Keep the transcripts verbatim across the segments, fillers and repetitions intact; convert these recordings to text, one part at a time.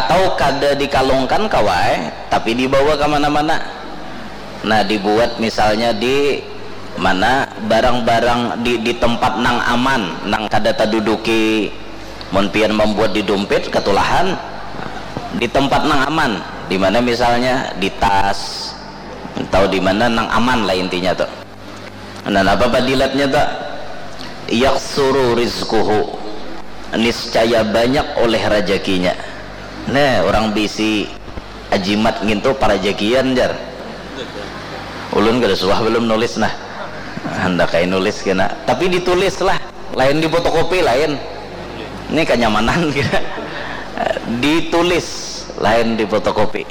Atau kada dikalungkan kawa ai, tapi dibawa ka mana-mana. Nah, dibuat misalnya di mana, barang-barang di, di tempat nang aman, nang kada taduduki. Mun pian mambuat di dumpit, katulahan. Di tempat nang aman, di mana misalnya di tas, atau di mana nang aman lah intinya tuh. Nah, apa padilatnya tuh? Yaksuru rizquhu, niscaya banyak oleh rajakinya. Nah, orang bisi ajimat ngintu parajakian, jar. Ulun kada suah belum nulis, nah. Handak ai nulis kena, tapi ditulis lah, lain di fotokopi, lain. Ini kenyamanan kena. Ditulis, lain di fotokopi.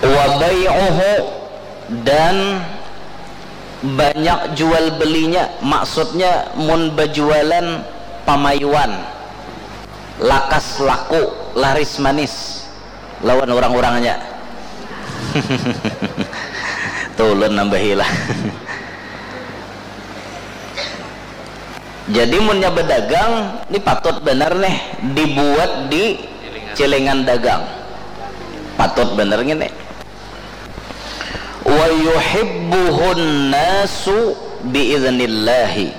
Wa bai'uhu, dan banyak jual belinya, maksudnya mun bajualan pamayuan, lakas laku, laris manis lawan orang-orangnya. Tulun nambahi lah. Jadi munnya berdagang, ini patut benar nih dibuat di celengan dagang. Patut benar gini. Wa yuhibbuhun nasu biiznillahi,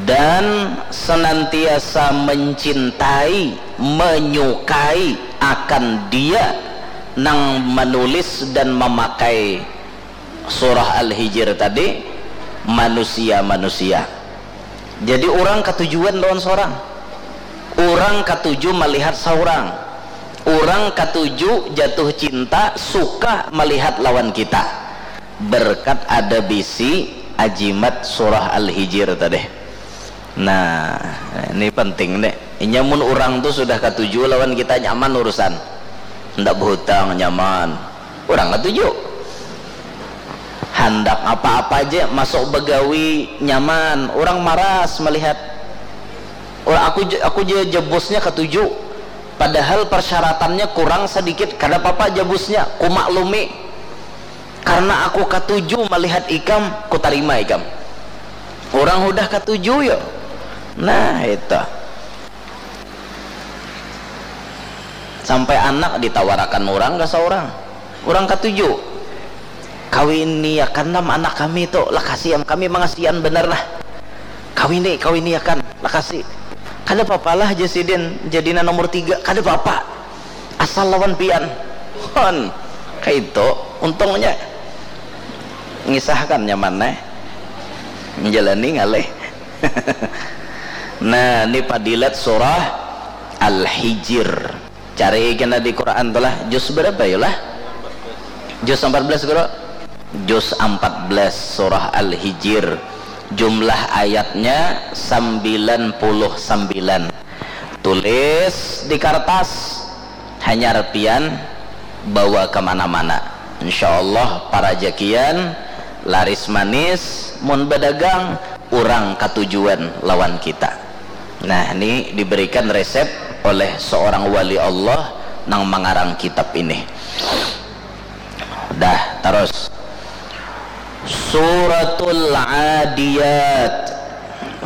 dan senantiasa mencintai, menyukai akan dia nang menulis dan memakai surah Al-Hijr tadi, manusia-manusia. Jadi orang katujuan lawan seorang, orang katuju melihat seorang, orang katuju jatuh cinta, suka melihat lawan kita, berkat ada bisi ajimat surah Al-Hijr tadi. Nah, ini penting deh. Inya mun orang tuh sudah katuju lawan kita, nyaman urusan. Ndak berhutang, nyaman. Orang katuju. Handak apa-apa aja masuk begawi, nyaman. Orang maras melihat. Orang aku aku aja jebusnya katuju. Padahal persyaratannya kurang sedikit, kada apa-apa jebusnya, ku maklumi. Karena aku katuju melihat ikam, ku tarima ikam. Orang udah katuju yo. Nah, itu. Sampai anak ditawarakan orang ke seorang. Orang katuju. Kawini akan nam anak kami tu, lakasi am kami mangasian benar lah. Kawini, kawini akan, lakasi. Kada apa-apa lah, jar sidin, jadina nomor tiga, kada apa-apa. Asal lawan pian. Hon, kaitu untungnya. Ngisahkan nyaman eh. Menjalani ngalih. Nah, ini padilat surah Al-Hijr. Cari kena di Quran tu lah. Juz berapa ya lah? Juz empat belas, Guru? Juz empat belas surah Al-Hijr. Jumlah ayatnya sembilan puluh sembilan. Tulis di kertas, hanyar pian bawa ke mana-mana. Insya Allah parajakian laris manis, mun berdagang, orang katujuan lawan kita. Nah, ini diberikan resep oleh seorang wali Allah nang mengarang kitab ini. Dah, terus. Suratul Adiyat.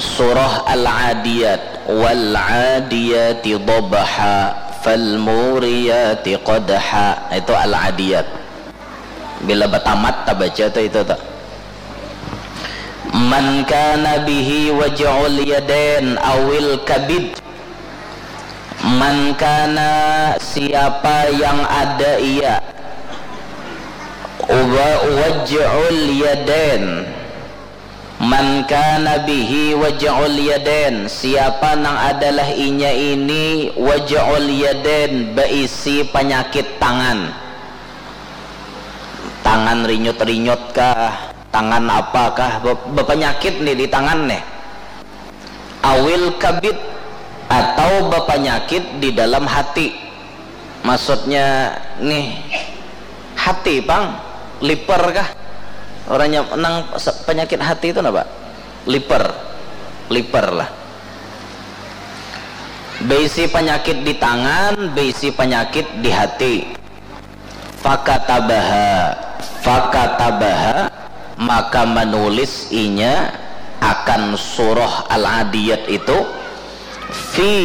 Surah Al-Adiyat. Wal adiyati dhabha, fal muriyati qadha. Itu Al-Adiyat. Bila batamat tabaca tu itu tu. Man kana bihi waj'ul yadain awil kabid. Man kana, siapa yang ada ia, wa waj'ul yadain. Man kana bihi waj'ul yadain, siapa nang adalah inya ini waj'ul yadain, beisi penyakit tangan. Tangan rinyut-rinyut kah, tangan apa kah, be-, bepenyakit nih di tangan nih. Awil kabid, atau bepenyakit di dalam hati. Maksudnya nih, hati pang, liver kah? Orangnya nang se-, penyakit hati itu apa? Liver. Liver lah. Beisi penyakit di tangan, beisi penyakit di hati. Fakatabaha, fakatabaha, maka menulis inya akan surah Al-Adiyat itu, fi